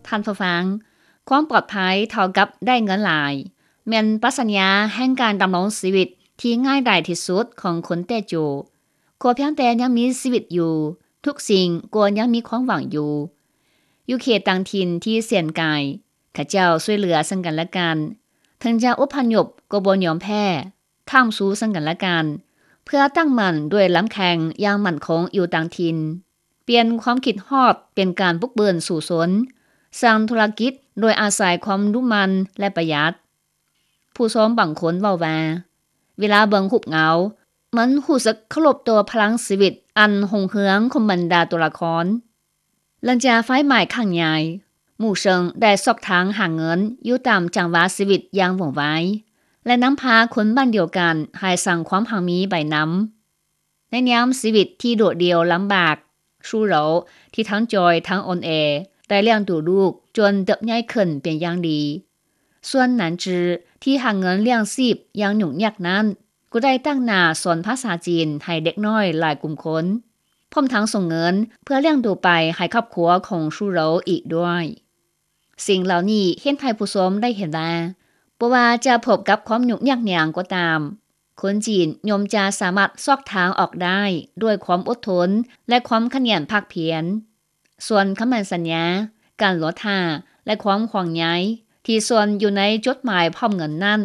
ທ່ານຜູ້ຟັງ, ຄວາມປອດໄພເທົ່າກັບໄດ້ເງິນຫຼາຍ ແມ່ນປັດຊະຍາແຫ່ງການດຳລົງຊີວິດທີ່ງ່າຍດາຍທີ່ສຸດຂອງຄົນແຕ້ຈູ. ຂໍພຽງແຕ່ຍັງມີຊີວິດຢູ່, ທຸກສິ່ງກໍຍັງມີຄວາມຫວັງຢູ່. ຢູ່ເຂດຕ່າງຖິ່ນທີ່ແສນໄກ, ເຂົາເຈົ້າຊ່ວຍເຫຼືອເຊິ່ງກັນແລະກັນ, ເຖິງຈະອົບພະຍົບກໍບໍ່ຍອມແພ້, ຄ້ຳຊູເຊິ່ງກັນແລະກັນ ເພື່ອຕັ້ງໝັ້ນດ້ວຍລຳແຂ້ງຢ່າງໝັ້ນຄົງຢູ່ຕ່າງຖິ່ນ. ປ່ຽນຄວາມຄິດຮອດເປັນການບຸກເບີນສູ້ຊົນ, ສ້າງທຸລະກິດໂດຍອາໄສຄວາມດຸໝັ່ນ ແລະ ປະຢັດ. ຜູ້ຊົມບາງຄົນເວົ້າວ່າ ເວລາເບິ່ງຮູບເງົາ, ມັນຮູ້ສຶກເຄົາລົບຕໍ່ພະລັງຊີວິດອັນຮຸ່ງເຮືອງຂອງບັນດາຕົວລະຄອນ. ຫຼັງຈາກໄຟໄໝ້ຄັ້ງໃຫຍ່, ໝູ່ເຊິ່ງໄດ້ຊອກທາງຫາເງິນຢູ່ຕາມຈັງຫວະຊີວິດຢ່າງວ່ອງໄວ ແລະ ນຳພາຄົນບ້ານດຽວກັນໃຫ້ສ້າງຄວາມຮັ່ງມີໄປນຳ. ໃນຍາມຊີວິດທີ່ໂດດດ່ຽວລຳບາກ, ຊູໂຣ ທີ່ທັງຈ່ອຍທັງອ່ອນແອ ໄດ້ລ້ຽງດູລູກຈົນເຕີບໃຫຍ່ຂຶ້ນເປັນຢ່າງດີ. ສ່ວນໜານຈື ທີ່ຫາເງິນລ້ຽງຊີບຢ່າງຫຍຸ້ງຍາກນັ້ນ ກໍໄດ້ຕັ້ງໜ້າສອນພາສາຈີນໃຫ້ເດັກນ້ອຍຫຼາຍກຸ່ມຄົນ, ພ້ອມທັງສົ່ງເງິນເພື່ອລ້ຽງດູໄປໃຫ້ຄອບຄົວຂອງຊູໂຣອີກດ້ວຍ. ສິ່ງເຫຼົ່ານີ້ເຮັດໃຫ້ຜູ້ຊົມໄດ້ເຫັນວ່າ ບໍ່ວ່າຈະພົບກັບຄວາມຫຍຸ້ງຍາກຫຍັງກໍຕາມ, ຄົນຈີນຍ່ອມຈະສາມາດຊອກທາງອອກໄດ້ດ້ວຍຄວາມອົດທົນ ແລະ ຄວາມຂະຫຍັນພາກພຽນ. ສ່ວນຄຳໝັ້ນສັນຍາ, ການລໍຖ້າ ແລະ ຄວາມຫ່ວງໃຍທີ່ສ້ອນຢູ່ໃນຈົດໝາຍພ້ອມເງິນນັ້ນ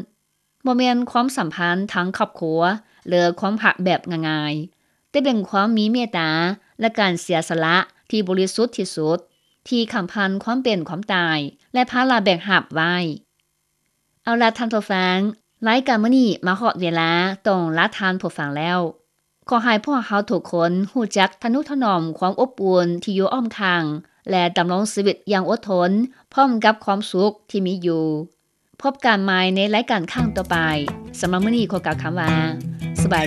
ບໍ່ແມ່ນຄວາມສຳພັນທາງຄອບຄົວ ຫຼື ຄວາມຮັກແບບງ່າຍໆ, ແຕ່ເປັນຄວາມມີເມດຕາ ແລະ ການເສຍສະຫຼະທີ່ບໍລິສຸດທີ່ສຸດ ທີ່ຂ້າມຜ່ານຄວາມເປັນຄວາມຕາຍ ແລະ ພາລະແບກຮັບໄວ້. ເອົາລະທ່ານຜູ້ຟັງ, ລາຍການມື້ນີ້ມາຮອດເວລາຕ້ອງລາທ່ານຜູ້ຟັງແລ້ວ. ຂໍໃຫ້ພວກເຮົາທຸກຄົນຮູ້ຈັກທະນຸຖະໜອມຄວາມອົບອຸ່ນທີ່ຢູ່ອ້ອມຂ້າງ ແລະ ດຳລົງຊີວິດຢ່າງອົດທົນ ພ້ອມກັບຄວາມສຸກທີ່ມີຢູ່. ພົບກັນໃໝ່ໃນລາຍການຄັ້ງຕໍ່ໄປ. ສຳລັບມື້ນີ້ຂໍກ່າວຄຳວ່າ